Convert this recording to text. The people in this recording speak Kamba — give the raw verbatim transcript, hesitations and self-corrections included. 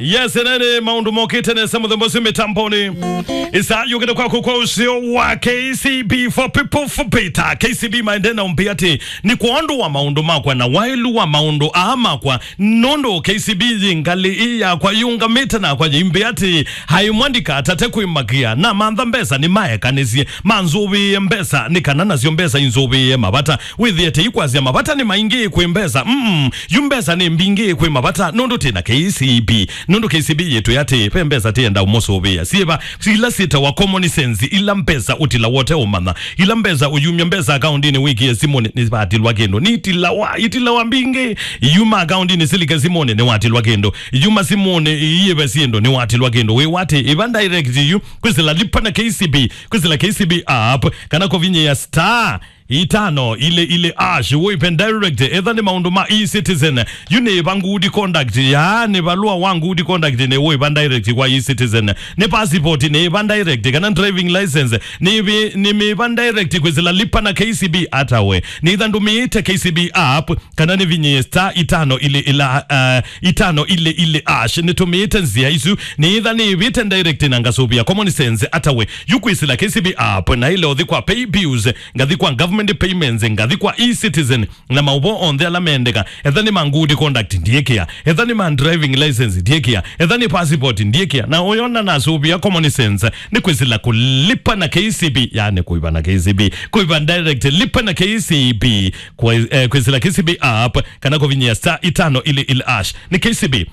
Yes, nene maũndũ mokĩte nesa mũthemba ũcio mĩtamboni. Ĩsa yũkĩte kwaku kwa ũseo wa K C B, for people for better. K C B maende na ũmbĩ atĩ nĩ kwa ũndũ wa maũndũ makwa na wailu wa maũndũ aa makwa, nũndũ K C B yĩ ngalĩ ĩ yakwa yũngamĩte nakwa yĩimbĩ atĩ, hai mwandika atate kwĩmakia na mantha mbesa nĩ maekanĩsye manzũvĩĩe mbesa, nĩ kana nasyo mbesa inzũvĩĩe mavata. Wĩthĩe tei kwasya mavata nĩ maingĩ kwĩ mbesa. Mm, yu mbesa nĩ mbingĩ kwĩ mavata, nũndũ twĩ na K C B. Nũndũ K C B yĩtwĩ atĩ ve mbesa tĩenda ũmũsũvĩa. Syĩva, ila syĩtawa common sense, ila mbesa ũtila wote ũmanya. Ila mbesa ũyumya mbesa akaundinĩ wĩkĩe simũnĩ nĩvatilwa kĩndũ. Nitilawa, itilawa mbingĩ. Yuma akaundinĩ silike simũnĩ nĩwatilwa kĩndũ. Yuma simũnĩ iyĩve syĩndũ nĩwatilwa kĩndũ. Wĩwa atĩ ĩva direct yu, kwĩsĩla lipa na K C B, kwĩsĩla K C B app, kana kũvinyĩa star itano ile ile ash, wĩve direct. Etha nĩ maũndũ ma e-citizen, yu nĩ va good conduct, ya nĩ valũa wa good conduct nĩ wĩva direct kwa e-citizen. Nĩ passport nĩ va direct, kana driving license nĩ vi-, nĩ mĩva direct kwĩsĩla lipa na K C B. Ata we nĩ itha ndũmĩĩte K C B app, kana nĩ vinyĩe star itano ile ila, uh, itano ile ile ash. Nĩtũmĩĩte nzĩa isu, nĩ itha nĩvĩte direct na ngasũvĩa common sense. Ata we yu kwĩsĩla K C B app, na ile ũthi kwa pay bills, ngathi kwa government payments, ngathi kwa e-citizen, na maũvoo onthe ala mendeka. Etha nĩ ma good conduct, ndiĩkĩa. Etha nĩ ma driving license, ndiĩkĩa. Etha nĩ passport, ndiĩkĩa. Na ũyona nasũvĩa common sense nĩ kwĩsĩla kũlipa na K C B, yani kũiva na K C B, kũiva direct, lipa na K C B, kwĩ-, eh, kwĩsĩla K C B app, kana kũvinyĩa star itano ile ile ash. Nĩ K C B.